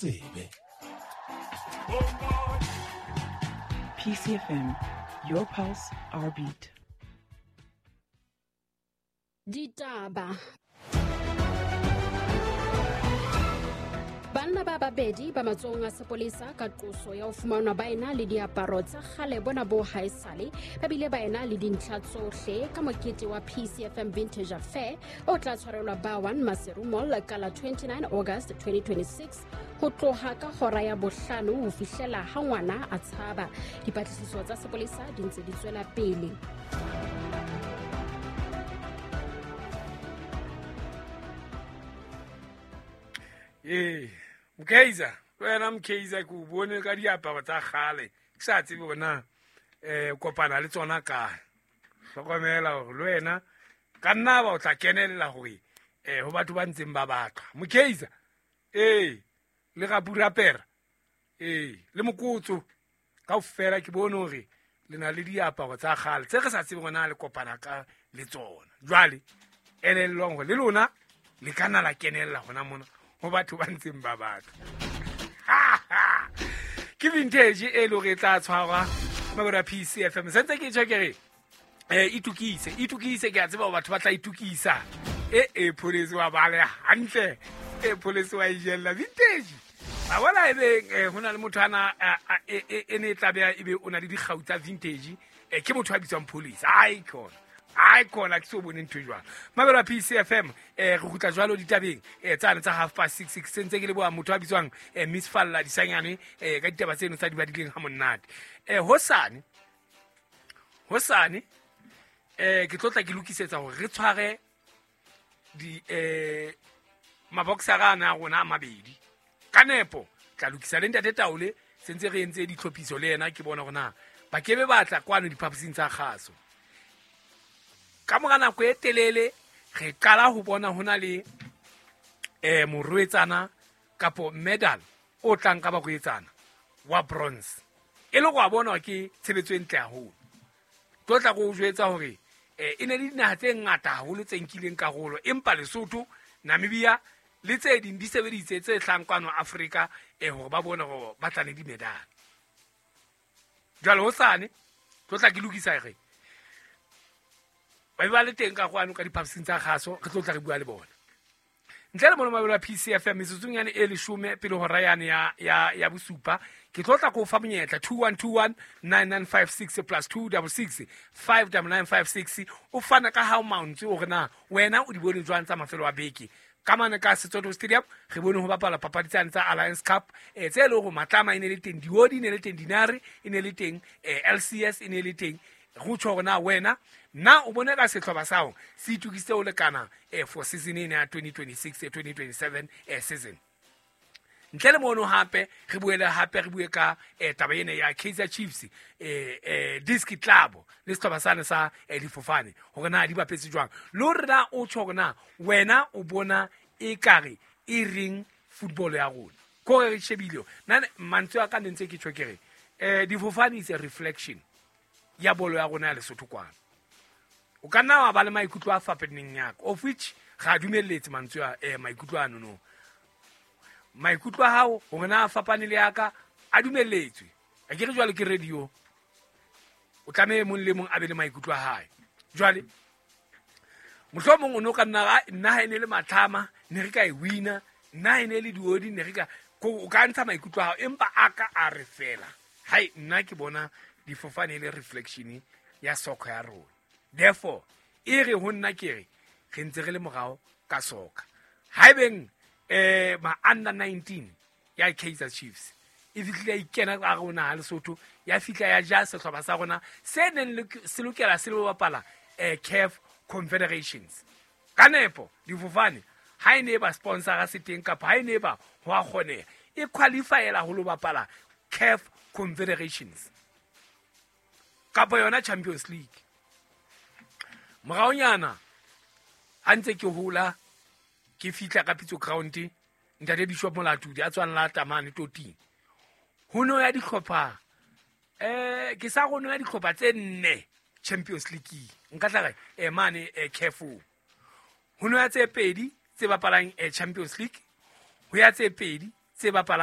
tsebe. PCFM, your pulse, our beat. Ditaba. Banna ba babedi ba matsohong a sepolesa ka qoso ya ho fumanwa ba ena le diaparo tsa kgale bona bo haesale, ba bile ba ena le dintlha tsohle ka mokete wa PCFM Vintage Affair o tla tshwarelwa ba 1 Maseru Mall ka la 29 August 2026 ho tloha ka hora ya bohlano ho fihlela ha ngwana a tshaba. Dipatlisiso tsa sepolesa di ntse di tswela pele. Ee, Mkaizer, wena Mkaizer ke o bone ka diaparo tsa kgale, ke sa tsebe hore na kopana le tsona kae. Hlokomela hore le wena ka nna ba o tla kenella hore ho batho ba ntseng ba batlwa. Mkaizer, ee, le Rapurapera, ee, le Mokotso, kaofela ke bone hore le na le diaparo tsa kgale tse re sa tsebe hore na le kopana ka le tsona. Jwale elellwang hore le lona le ka nna la kenella hona mona ho batho ba ntseng ba batla. Ke vintage e le hore e tla tshwarwa mabelo a PCFM. Sentse ke tjho ke re itukise, itukise, ke a tseba hore batho ba tla itukisa. E pholese wa bale hantle, e pholese wa ijella vintage. Ba bona e beng ho na le motho ana e ne e tla beha ebe o na le dikgau tsa vintage, ke motho a bitswang pholese. Icon. Icon, ke so bone ntho e jwalo. Mabelo a PCFM, re kgutla jwalo ditabeng tsane tsa 6:30. Sentse ke leboha motho a bitswang Miss Falla Disanyane ka ditaba tseno tsa di badileng ha monate. Hosane ke tlotla ke lokisetsa hore re tshware di maboxera ana a rona a mabedi. Ka nepo tla lokisa le ntate Taole, sentse re entse ditlhophiso le yena, ke bona hore na ba kebe ba tla kwano diphaposing tsa kgaso. Ka mora nako e telele re qala ho bona hona le morwetsana kapo medal o tlang ka barwetsana wa bronze. E le go a bona ke tshebetso e ntle haholo. Tlo tla go jwetsa hore e ne le dinaha tse ngata haholo tse nkileng karolo, empa Lesotho, Namibia le tse ding di sebeditse tse hlang kwano Afrika hore ba bone hore ba tla le di-medal. Jwale hosane tlo tla ke lokisa re ba ba le teng ka kwano ka diphaposing tsa kgaso, re tlo tla re bua le bona. Ntle le mono mabelo a PCFM metsotsong yane e 10 pele hora yane ya bosupa, ke tlo tla ko fa monyetla 2121 9956 plus 266 59956 o fana ka hao mantswe hore na wena o di bone jwang tsa mafelo a beke. Ka mane ka Setsoto Stadium re bone ho bapala papadi tsane tsa Alliance Cup, tse leng hore Matlama e ne le teng, Diodi e ne le teng, Dinare e ne le teng, LCS e ne le teng. Go tjho hore na wena na o bone ka sehlopha sa hao se itukisitse ho lekana for season ena ya 2026 2027 season. Ntle le mono hape re buele hape re bue ka taba ena ya Kaizer Chiefs, Diski Club le sehlopha sane sa difofane hore na di bapetse jwang, le hore na o tjho hore na wena o bona ekare e reng football ya rona. Ko re shebile nna mantswe a ka ne ntse ke tjho ke re difofane is a reflection ya bolo ya rona ya Lesotho kwano. O ka nna wa ba le maikutlo a fapaneng ya ka, of which ga a dumelletse mantswe a maikutlo ano no. Maikutlo a hao hore na a fapane le ya ka a dumelletswe. A ke re jwale ke radio, o tlameha mong le mong a be le maikutlo a hae. Jwale mohlomong o no ka nna nna ha e ne le Matlama ne re ka e wina, nna ha e ne le Diodi ne re ka o ka ntsha maikutlo a hao, empa a ka a re fela hai nna ke bona difofane le reflection ya soccer ya rona. Therefore e re ho nna ke re re ntse re le morao ka soccer. Haebeng ma under 19 ya Kaizer Chiefs e fihlile ya ikena ka rona ha Lesotho, ya fihla ya ja sehlopha sa rona se neng se lokela se lo bapala CAF Confederations. Ka nepo difofane ha e ne ba sponsora se teng kapa ha e ne ba ho a kgoneha e qualifyela ho lo bapala CAF Confederations kapa yona Champions League. Moraonyana ha ntse ke hola ke fihla ka Pitso Ground, ntate Bishop Molatudi a tswang la Tamane Toting, ho no ya dihlopha ke sa go no ya dihlopha tse nne Champions League nka tla re mane careful ho no ya tse pedi tse bapalang Champions League, ho ya tse pedi tse bapalang